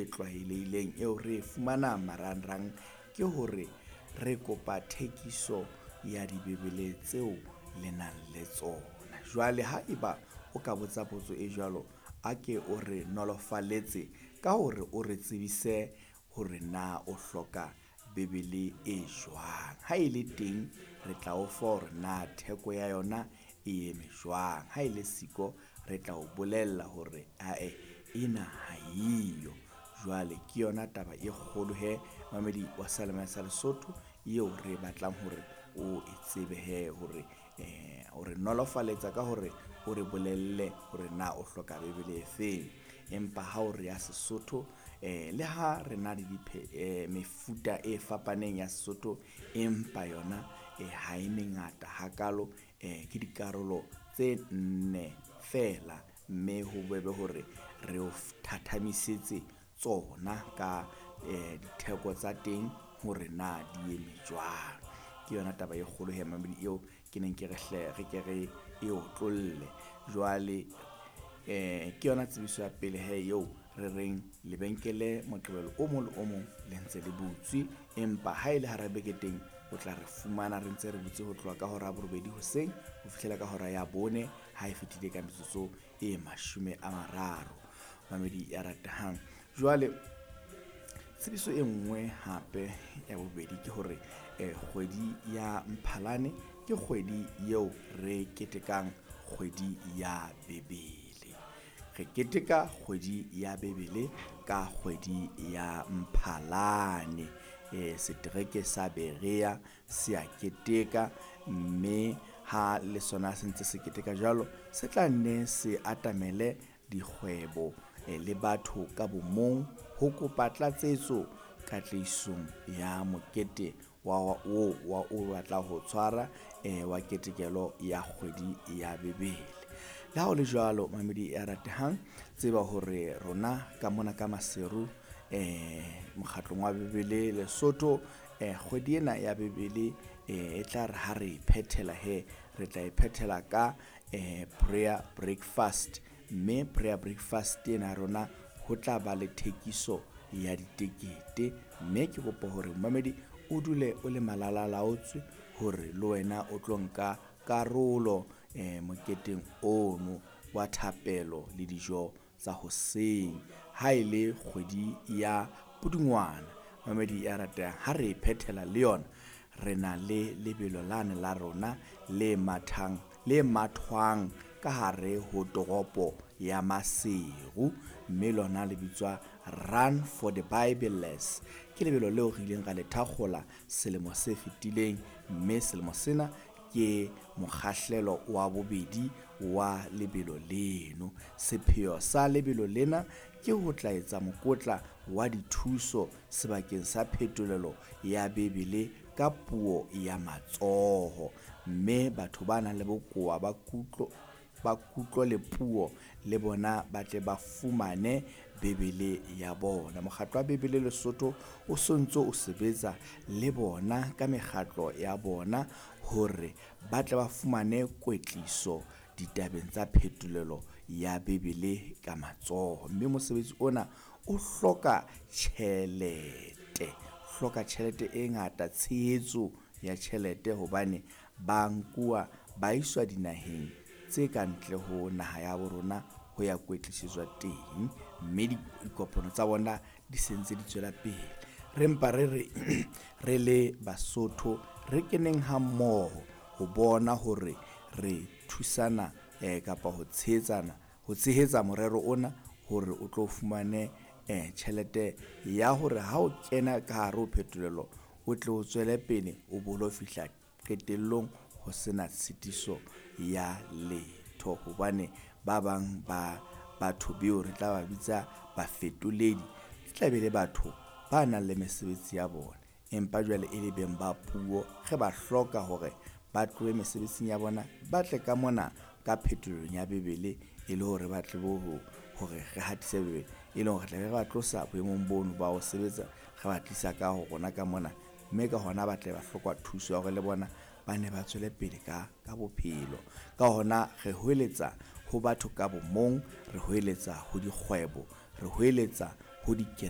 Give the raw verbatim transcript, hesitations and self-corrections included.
e tlwaelehileng eo re e fumanang marangrang ke hore re kopa thekiso ya Dibebele tseo le nang le tsona. Jwale haeba o ka botsa potso e jwalo, a ke o re nolofaletse ka hore o re tsebise hore na o hloka Bebele e jwang. Ha e le teng, re tla o fa hore na theko ya yona e eme jwang. Ha e le siko, re tla o bolella hore ae ena ha eyo. Jwale ke yona taba e kgolo he mamedi wa seyalemoya sa Lesotho eo re batlang hore o e tsebe he hore eh o re nolofaletsa ka hore o re bolelle hore na o hloka Bebele e feng. Empa ha o re ya Sesotho, eh le ha re na le diphe eh, mefuta e fapaneng ya Sesotho, empa yona eh, ha e mengata hakalo. Eh, ke dikarolo tse nne feela, mme ho bobebe hore re o thathamisetse tsona ka eh, ditheko tsa teng hore na di eme jwang. Ke yona taba e kgolo he mamedi eo ke neng ke re hle re ke re e otlolle. Jwale eh ke yona tsebiso ya pele he eo re reng lebenkele Moqebelo o mong le o mong le ntse le butswe, empa ha e le hara beke teng o tla re fumana re ntse re butse ho tloha ka hora ya borobedi hoseng ho fihlela ka hora ya bone ha e fetile ka metsotso e mashome a mararo. Mamedi ya ratehang, jwale tsebiso e nngwe hape ya bobedi ke hore eh, kgwedi ya Mphalane ke kgwedi eo re ketekang kgwedi ya Bebele. Re keteka kgwedi ya Bebele ka kgwedi ya Mphalane. E, setereke sa Berea se a keteka, mme ha le sona se ntse se keteka jwalo, se tla nne se atamele dikgwebo eh, le batho ka bomong ho kopa tlatsetso katlehisong ya mokete wa o wa o batla ho tshwara eh, wa ketekelo ya kgwedi ya Bebele. Le ha ho le jwalo, mamedi ya ratehang, tseba hore rona ka mona ka Maseru eh mokgatlong wa Bebele Lesotho, eh kgwedi ena ya Bebele eh e tla re ha re e phethela he, re tla e phethela ka eh prayer breakfast, mme prayer breakfast ena ya rona ho tla ba le thekiso ya ditekete, mme ke kopa hore momamedi o dule o le malalalaotswe hore le wena o tlo nka karolo eh moketeng ono wa thapelo le dijo tsa hoseng. Ha e le kgwedi ya Pudungwana, mamedi ya ratehang, ha re e phethela le yona, re na le lebelo lane la rona le mathang le mathwang ka hare ho toropo ya Maseru, mme lona le bitswa Run for the Bibleless. Ke lebelo leo re ileng ra le thakgola selemo se fetileng, mme selemo sena ke mokgahlelo wa bobedi wa lebelo leno. Sepheo sa lebelo lena ke ho tla etsa mokotla wa dithuso sebakeng sa phetolelo ya Bebele ka puo ya matsoho, mme batho ba nang le bokowa ba kutlo ba kutlo le puo le bona ba tle ba fumane Bebele ya bona. Mokgatlo wa Bebele Lesotho o sontso o sebetsa le bona ka mekgatlo ya bona hore ba tle ba fumane kwetliso ditabeng tsa phetolelo ya Bebele ka matsoho, mme mosebetsi ona o hloka tjhelete, hloka tjhelete e ngata, tshehetso ya tjhelete, hobane ba nkuwa ba iswa dinaheng tse ka ntle ho naha ya bo rona ho ya kwetlisetswa teng, mme dikopano tsa bona di se ntse di tswela pele. Re mpa re re re le Basotho re keneng hammoho ho bona hore re thusana eh, kapa ho tshehetsana ho tshehetsa morero ona hore o tlo fumane eh, tjhelete ya hore ha o kena ka hare ho phetolelo o tle o tswele pele o bolo fihla qetellong ho sena tshitiso ya letho, hobane ba bang ba batho beo re tla ba bitsa bafetoledi e tla be le batho ba nang le mesebetsi ya bona, empa jwale e le beng ba puo, re ba hloka hore ba tlohe mesebetsing ya bona ba tle ka mona ka phetolelong ya Bebele e le hore ba tle bo hore re hatise Bebele, e leng hore re tla be re ba tlosa boemong bono ba ho sebetsa re ba tlisa ka ho rona ka mona, mme ka hona ba tle ba hloka thuso ya hore le bona ba ne ba tswele pele ka ka bophelo. Ka hona re hweletsa ho batho ka bomong, re hweletsa ho dikgwebo, re hweletsa ho dikereke.